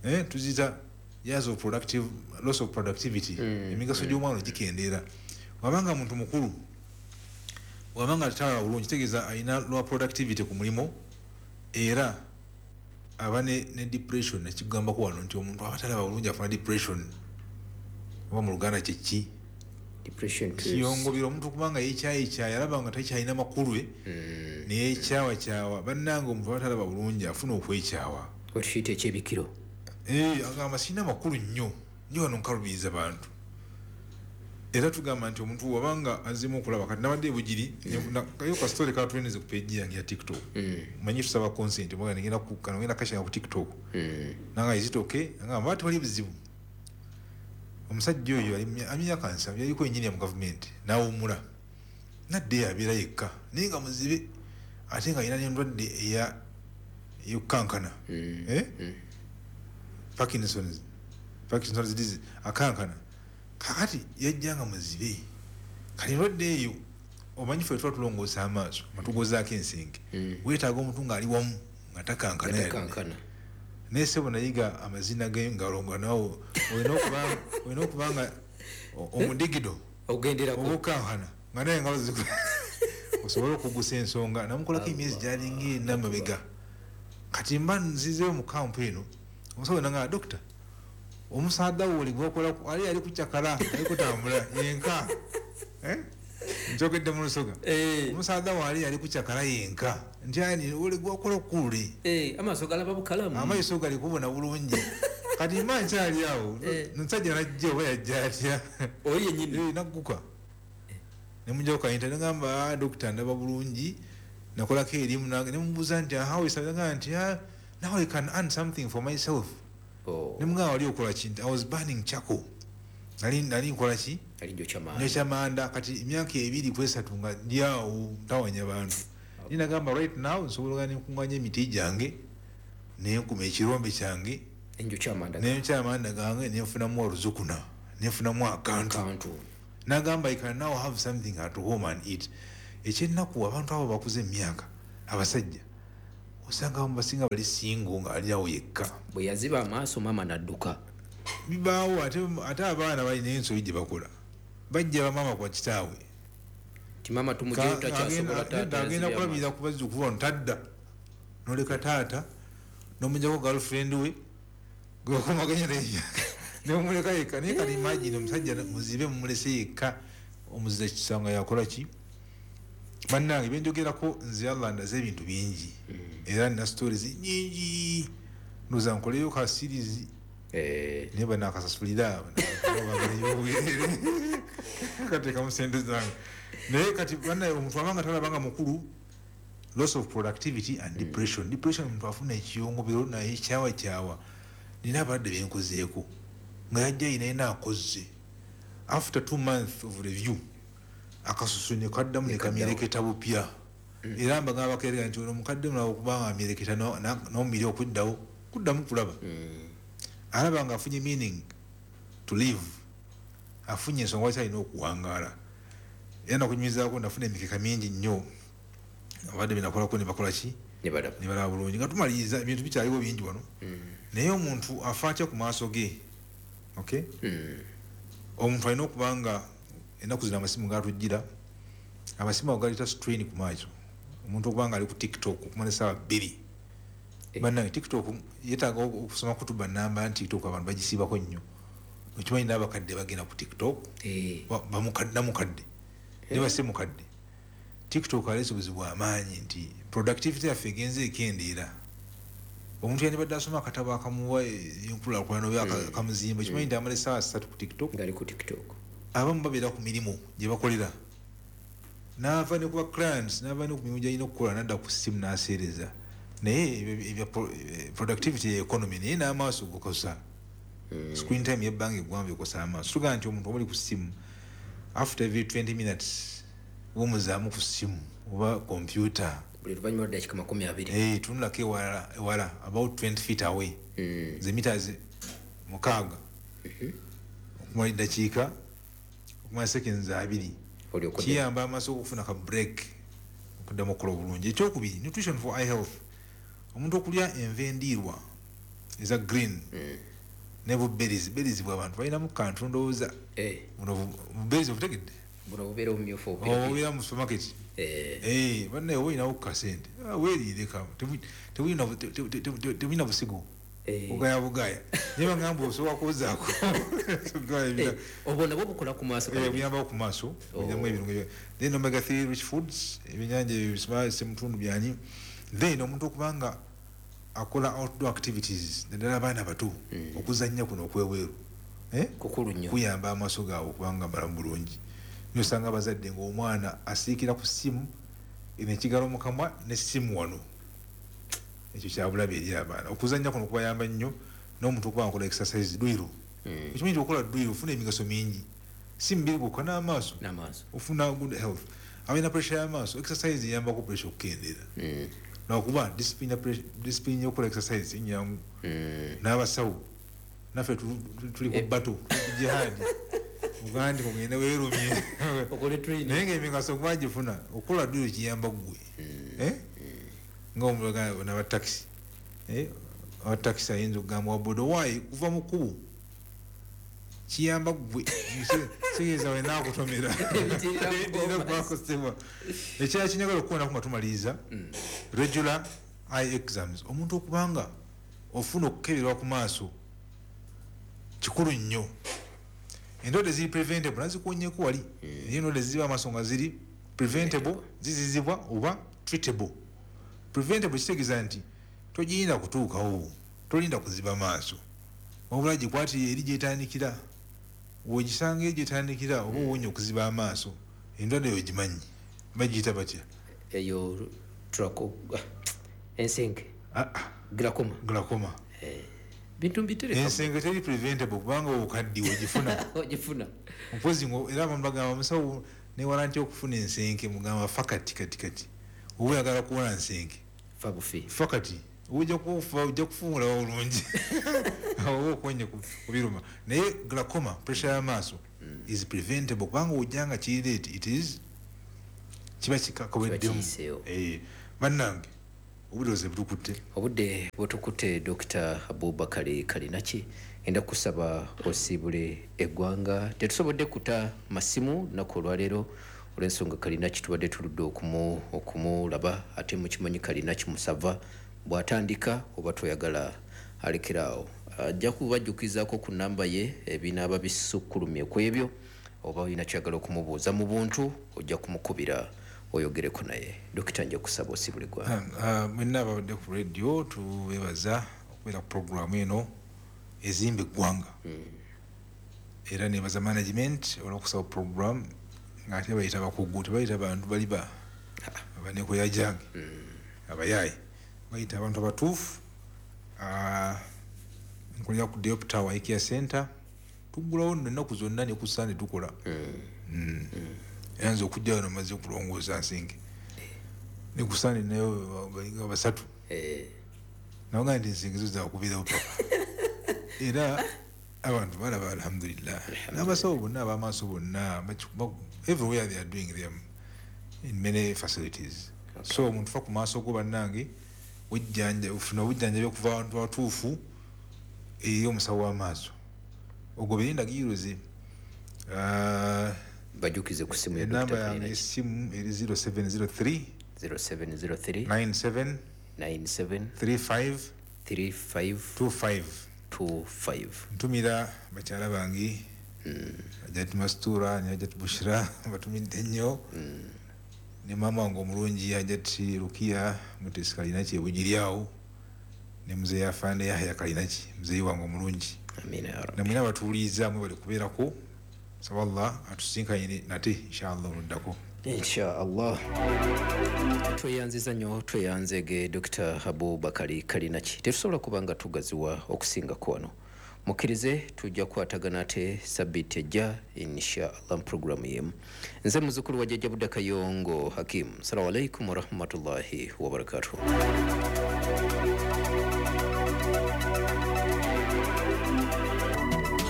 tuziyita years of productive loss of productivity. Emigaso gy'omwana ogikendeera. Wabanga muntu mukulu, wabanga talaba bulungi, kitegeeza alina lower productivity ku mulimu, era aba ne depression. Nekigambako wano nti omuntu aba talaba bulungi afuna depression, oba mu Luganda kyeki? Depression Kiyongobera omuntu kubanga yekyayekyayi, alaba nga takyalina makulu, neyekyawakyawa. Bannange, omuntu aba talaba bulungi afuna okwekyawa. Okiyita ekyebikiro. Agamba sirina makulu nnyo nnyo wano, nkalubiriza bantu. Era tugamba nti omuntu wabanga azimu okulaba, kati nabadde ebugiri kayo ka story katweneze ku page yange ya TikTok. Manyi tusaba consent, mwaga ngenda ku kano, ngenda kashinga ku TikTok. Nanga, "Is it okay?" Nanga bati wali buzibu. Omusajja oyo ali myaka 70, yaliko engineer mu gavumenti, n'awummula, nadde abeera yekka, naye nga muzibe, ate nga alina n'endwadde eya ey'okukankana, eh? Parkinson's disease, akankana. Kakati yajja nga muzibe. Kati endwadde eyo, omanyi ffe tuba tulongoosa amaaso nga tugozaako ensenge, weetaaga omuntu ng'ali wamu nga takankana yadde. Gatakankana. Naye sebo, nayiga amazina g'engalo nga nawo olina okuba nga omudigido Ogenderako. obukankana nga naye engalo Osobole okugusa ensonga. Namukolako emyezi gyalinga ena mabega. Kati mba nzizeeyo mu kampu eno, omusawo nanga, "Dokita, omusaadha wo oli gwakola ali ali kucakala, ali kutambula yenka." Eh? Njogedde mu Lusoga. Omusaadha wo ali ali kucakala yenka. Nti ani oli gwakola kule. Amaaso galaba bukalamu. Amaaso gali kubona bulungi. Kati mba nkyali awo, omusajja najja, oba yajja atya? Oyo yennyini. Nagguka. Ne mujjako kayinta, ne ngamba, "Ah, dokita, ndaba bulungi." Nakolako erimu ne mubuuza nti, "How is?" Nagamba nti, "Ah, now I can earn something for myself." Oh. Ne mugamba, "Wali okola ki?" Nti, "I was burning charcoal." Nali nkola ki? Ali njokya manda. Njokya manda. Kati emyaka 2 ku 3 nga ndi awo ntawanya bantu. Naye nagamba, "Right now nsobola ogenda nenkunganya emiti gyange, nenkuma ekirombe kyange, Enjokya amanda. Nenkya amanda gange, nenfunamu oluzukuna, nenfunamu akantu." Kantu. Nagamba, "I can now have something at home and eat." Ekyennaku, abantu abo bakuze emyaka, abasajja osanga abamu basinga bali single, nga ali awo yekka. Bwe yaziba amaaso, maama n'adduka. Bibaawo. Ate abaana balina ensobi gye bakola, bajja bamaama kwa kitaabwe. Ti maama tumugyeyo, takyasobola, taata Agenda yazibye kulabirira amaaso. ku bazzukulu bano, tadda noleka taata nomujjako girlfriend we gwebakomaganya naye nemumuleka yekka. Naye kati imagine omusajja muzibe mumulese yekka, omuzira kisanga yakola ki? Bannange, byenjogerako nze Allah ndaze ebintu bingi, era nina stories nyingi, ndowooza nkoleyo ka series. Naye banakasasulira obwerere, kateekamu sente zange. Naye kati bannaye, omuntu abanga talabanga mukulu, loss of productivity and depression. Depression, omuntu afuna ekiyongobero naye kyawa kyawa. Nina abalwadde benkozeeko nga yajja yinaina akozze, after 2 months of review akasusu ne kaddamu ne kamyereketa bupya. Era mbagamba bakerera nti ono mukadde mulaba okubanga amyereketa n'omubiri okuddawo kuddamu kulaba, alaba nga afunye meaning to live, afunye ensonga lwaki alina okuwangaala. Era nakunyumizaako, nafuna emikeka mingi nnyo, abadde benakolako ne bakola ki? Ne balaba. Ne balaba bulungi. Nga tumaliriza, ebintu bikyaliwo bingi wano, naye omuntu afa atya ku maaso ge? Okay, omuntu alina okuba nga ennaku zino amasimu gatujjira, amasimu ago galeeta strain ku maaso. Omuntu okuba nga ali ku TikTok okumala esaawa 2. Bannange, TikTok yeetaaga okusoma kutuba namba nti TikTok abantu bagisiibako nnyo. Okimanyi n'abakadde bagenda ku TikTok? Namukadde ne basse mukadde. TikTok aleese obuzibu amaanyi nti productivity yaffe egenze ekendeera. Omuntu yandibadde asoma akatabo akamuwa enkulaakulana oba akamuzimba, kimanyi nti amala esaawa 3 ku TikTok. Ngali ku TikTok. Abamu babeera ku mirimu gye bakolera, n'ava ne kuba clients, n'ava ne ku mirimu gyalina okukola, nadda ku simu n'aseereza. Naye ebya productivity ye economy, naye n'amaaso gokosa. Screen time yebbanga eggwanvu ekosa amaaso. Tugamba nti omuntu omuli ku simu, after every 20 minutes womuzaamu ku simu oba computer. Buli luvannyuma lwa dakika 20. Tunulako ewala ewala, about 20 feet away, ze meters 6, okumala eddakiika, okumala seconds 20. Olyoke Kiyamba amaaso okufuna ka break, okuddamu okukola obulungi. Ekyokubiri, nutrition for eye health. Omuntu okulya enva endiirwa eza green ne bu berries. Berries bwe abantu balinamu kantu, ndowooza buno bu berries obutegedde? Buno bubeera obumyufu obupirapira. Obubeera mu supermarket. Bannaye, oba olinawo ku kasente, ah, weeriireka. Tebulina busigo. Bugaya bugaya, naye bagamba osobola kwozaako. Obwo nabwo bukola ku maaso? Buyambako ku maaso, bulinamu ebirungo then omega 3 rich foods, ebyenyanja ebisima, semutundu byani. Then omuntu okubanga akola outdoor activities, naddala abaana bato, okuzannya kuno okwebweru. Eh? Kukulu nnyo. Kuyamba amaaso gaabwe okubanga malamu bulungi. Nosanga abazadde ngaomwana asiikira ku ssimu, eno ekigalo mu kamwa nessimu wano, ekyo kyabulabe eri abaana. Okuzannya kuno kubayamba nnyo. N'omuntu okuba nga akola exercise, dduyiro. Okimanyi nti okola dduyiro ofuna emigaso mingi, si mubiri gwokka, n'amaaso. N'amaaso. Ofuna good health. Abalina pressure y'amaaso, exercise eyambako pressure okukendeera, lwakuba discipline yokukola exercise si nyangu. N'abasawo naffe tuli ku bato, tuli ku jihadi, ogaa nti kugende weerumye. Okole training. Naye ngaemigaso gwagifuna, okukola dduyiro kiyamba ggwe. Eh? Nga omulaga nabatakisi, abatakisi ayinza okugamba wa boda, "Waayi kuva mu kkubo," kiyamba ggwe. Kitegeeza wena akutomera. Ekirala kinjagala okukoonako nga tumaliriza, regular eye exams. Omuntu okubanga ofuna okukeberwa ku maaso kikulu nnyo. Endwadde ziri preventable nazikuwonyeko wali. Naye endwadde ziba amaaso nga ziri preventable, zizizibwa oba treatable. Preventable kitegeeza nti togiyinda kutuukawo, tolinda kuziba maaso, wabula gikwatire eri gyetandikira. Bw'ogisanga eri gyetandikira oba owonye okuziba amaaso. Endwadde eyo gimanyi bagiyita batya? Eyo ensenke. Glaucoma. Glaucoma. Bintu mbitereka. Ensenke teri preventable kubanga obukaddiwe ogifuna. Ogifuna. Mpozi era abantu bagamba musawo newala nti okufuna ensenke, mugamba fa kati kati kati. Oba oyagala kuwona nsenke. Fa bufi. Fa kati. Ojja kufa, ojja kufuula bulungi. Oba okonye kubiruma. Naye glaucoma, pressure y'amaaso is preventable kubanga ojja nga kiri late, it is kiba kikaweddemu. Bannange obudde butukutte. Obudde butukutte. Dr. Abubakari Kalinaki, enda kusaba osiibule eggwanga. Tetusobodde kuta masimu lunaku olwaleero olw'ensonga Kalinaki tubadde tuludde okumulaba, ate mukimanyi Kalinaki musava bw'atandika oba toyagala alekeraawo. Ajja kubajjukizaako ku namba ye ebinaaba bisukkulumye ku ebyo, oba olina kyagala okumubuuza mu buntu ojja kumukubira oyogereko naye. Dokita, nja kusaba osiibule eggwanga. Mwenna ababadde ku radio tubebaza okubeera ku programu eno ezimba eggwanga. Era nebaza management olw'okusaba program ng'ate bayita bakugu, tebayita bantu bali ba abanekoyajange abayaayi, bayita abantu abatuufu. Nkolera ku Diop Tower Eye Care Center, tuggulawo nno ennaku zonna ne ku Sande tukola. Era nze okujja wano maze okulongoosa nsinge ne ku Sande nayo balinga basatu. Nabaga nti nsinge zo zakubeerawo paka. Era abantu balaba alhamdulillah. N'abasawo bonna ab'amaaso bonna everywhere they are doing them in many facilities. So omuntu fa ku maaso go bannange, ofuna obujjanjabi okuva abantu abatuufu eri omusawo w'amaaso. Ogobere endagiriro ze. Bajukize ku simu ya Enamba Dr. yange Kalinaki. Essimu eri 0703 0703 97 97 35 35 25 25. Ntumira bakyala bange Hajjati Mastura ne Hajjati Bushira, batumidde nnyo, ne maama wange omulungi Hajjati Rukia Mutesi Kalinaki ebugiri awo, ne muzeeyi Afande Yahya Kalinaki, muzeeyi wange omulungi. Amina ya Rabbi. Namwena abatuwuliriza mwe bali kubeerako. Saba Allah atusinkanye nate inshallah oluddako. Inshallah. Tweyanziza nnyo, tweyanzege Dr. Abubakari Kalinaki. Tetusobola kuba nga tugaziwa okusingako wano. Mukkirize tujja kukwatagana ate sabbiiti ejja inshallah mu programu yemu. Nze muzzukulu wa Jjajja Budda Kayongo Hakim. Assalamu alaikum warahmatullahi wabarakatuh.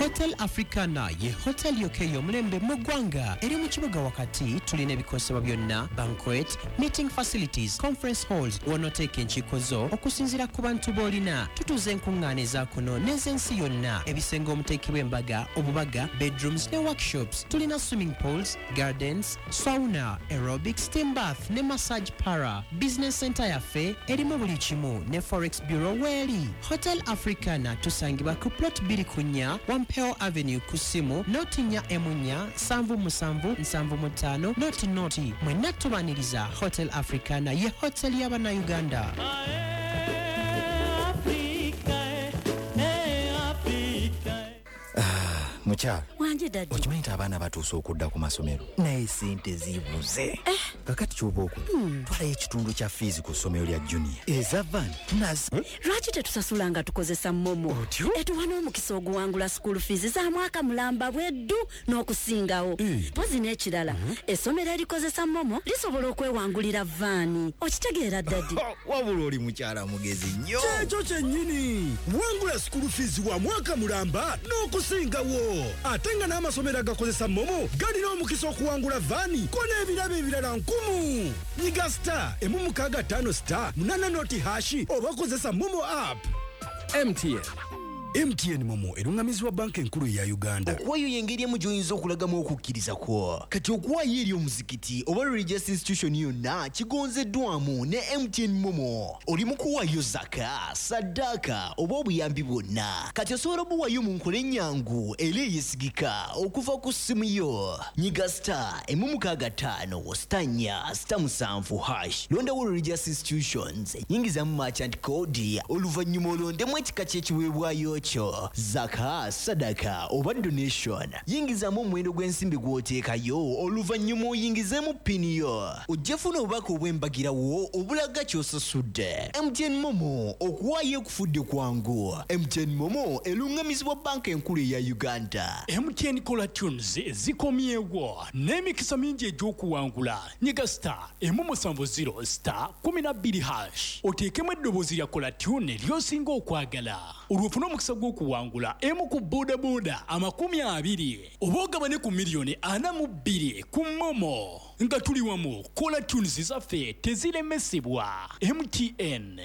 Hotel Africana ye hotel yokka ey'omulembe mu ggwanga eri mu kibuga wakati. Tulina ebikozesebwa byonna, banquet, meeting facilities, conference halls w'onooteeka enkiiko zo okusinziira ku bantu b'olina. Tutuuza enkuŋŋaana eza kuno n'ez'ensi yonna, ebisenge omuteekebwa embaga, obubaga, bedrooms ne workshops. Tulina swimming pools, gardens, sauna, aerobic, steam bath ne massage para. Business center yaffe erimu buli kimu ne forex bureau weeri. Hotel Africana tusangibwa ku plot 2 ku 4 Wampeo Avenue, ku ssimu 0 4 7 7 75 00. Mwenna tubaniriza. Hotel Africana ye hotel y'Abannayuganda. Mukyala. Wanje daddy. Okimanyi nti abaana batuuse okudda ku masomero, naye sente zibuze. Kakati kyoba okola, twalayo ekitundu kya fiizi ku ssomero lya junior, eza van nazi. Lwaki tetusasula nga tukozesa MoMo? Etuwa n'omukisa oguwangula school fees za mwaka mulamba bweddu n'okusingawo. Mpozi n'ekirala, essomero erikozesa MoMo lisobola okwewangulira vaani. Okitegeera daddy? Wabula oli mukyala mugezi nnyo. Kyekyo kyennyini, wangula school fees wa mwaka mulamba n'okusingawo, ate nga n'amasomero agakozesa MoMo galina omukisa okuwangula vaani ko n'ebirabo ebirala nkumu. Nyiga *165*80# oba kozesa MoMo app. MTN. MTN MoMo eruŋŋamizibwa banka enkulu eya Uganda. Okuwaayo y'engeri emu gy'oyinza okulagamu okukkiriza kwo. Kati okuwaayo eri omuzikiti oba religious institution yonna kigonzeddwamu ne MTN MoMo. Oli mu kuwaayo zaka, saddaaka oba obuyambi bwonna. Kati osobola obuwaayo mu nkola ennyangu era eyeesigika okuva ku ssimu yo. Nyiga star 165 star 4 star 7 hash. Londawo religious institutions, yingizamu merchant code, oluvannyuma olondemu ekika ky'ekiweebwayo kyo, zaka, sadaka oba donation. Yingizamu omuwendo gw'ensimbi gw'oteekayo, oluvannyuma oyingizeemu pini yo. Ojja funa obubaka obw'embagirawo obulaga ky'osasudde. MTN MoMo, okuwaayo ekufudde kwangu. MTN MoMo eruŋŋamizibwa banka enkulu eya Uganda. MTN Caller Tunes zikomyewo n'emikisa mingi egy'okuwangula. Nyiga star 170 star 12 hash oteekemu eddoboozi lya Caller Tune ly'osinga okwagala, olwo ofune omukisa gw'okuwangula emu ku bodaboda 20 oba ogabane ku miliyoni 42 ku MoMo. Nga tuli wamu, Caller Tunes zaffe teziremesebwa. MTN.